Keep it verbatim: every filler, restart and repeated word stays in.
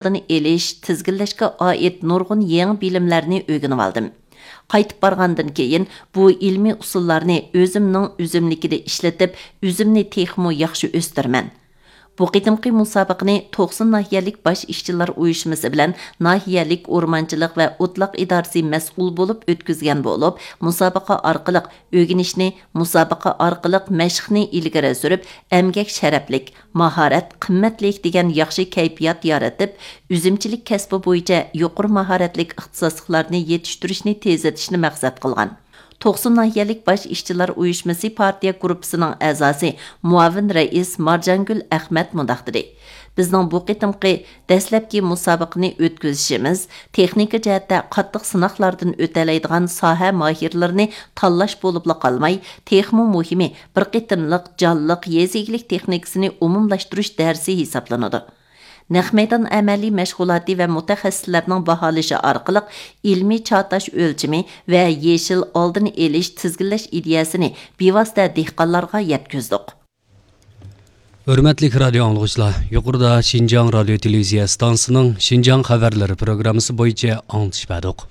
ئالدىنى ئېلىش، تىزگىنلەشكە ئائىت نۇرغۇن يېڭى بىلىملەرنى ئۆگىنىۋالدىم. قايتىپ بارغاندىن كېيىن، بۇ ئىلمىي ئۇسۇللارنى ئۆزۈمنىڭ ئۈزۈملۈكىدە ئىشلىتىپ، ئۆزۈمنى تېخىمۇ ياخشى ئۆستۈرىمەن. بۇ قېتىمقى مۇسابىقىنى توقسۇن ناھىيەلىك باش ئىشچىلار ئۇيۇشمىسى بىلەن ناھىيەلىك ئورمانچىلىق ۋە ئوتلاق ئىدارىسى مەسئۇل بولۇپ ئۆتكۈزگەن بولۇپ، مۇسابىقە ئارقىلىق ئۆگىنىشنى، مۇسابىقە ئارقىلىق مەشىقنى ئىلگىرى سۈرۈپ، ئەمگەك شەرەپلىك، ماھارەت قىممەتلىك دېگەن ياخشى كەيپىيات يارىتىپ، ئۈزۈمچىلىك كەسپى بويىچە يۇقىرى ماھارەتلىك ئىختىساسلىقلارنى يېتىشتۈرۈشنى تېزلىتىشنى مەقسەت قىلغان. توقسۇن ناھىيەلىك باش ئىشچىلار ئۇيۇشمىسى پارتىيە گۇرۇپپىسىنىڭ ئەزاسى، مۇئاۋىن رەئىس مارجانگۈل ئەخمەت مۇنداق دېدى: بىزنىڭ بۇ قېتىمقى دەسلەپكى مۇسابىقىنى ئۆتكۈزۈشىمىز تېخنىكا جەھەتتە قاتتىق سىناقلاردىن ئۆتەلەيدىغان ساھە ماھىرلىرىنى تاللاش بولۇپلا قالماي، تېخىمۇ مۇھىمى، بىر قېتىملىق جانلىق يېزا ئىگىلىك تېخنىكىسىنى ئومۇملاشتۇرۇش دەرسى ھېسابلىنىدۇ. نەق مەيدان ئەمەلىي مەشغۇلاتى ۋە مۇتەخەسسىسلەرنىڭ باھالىشى ئارقىلىق ئىلمىي چاتاش ئۆلچىمى ۋە يېشىل ئالدىنى ئېلىش، تىزگىنلەش ئىدىيەسىنى بىۋاسىتە دېھقانلارغا يەتكۈزدۇق. ھۆرمەتلىك رادىيو ئاڭلىغۇچىلار، يۇقىرىدا شىنجاڭ رادىيو تېلېۋىزىيە ئىستانسىسىنىڭ شىنجاڭ خەۋەرلىرى پروگراممىسى بويىچە ئاڭلىتىش بەردۇق.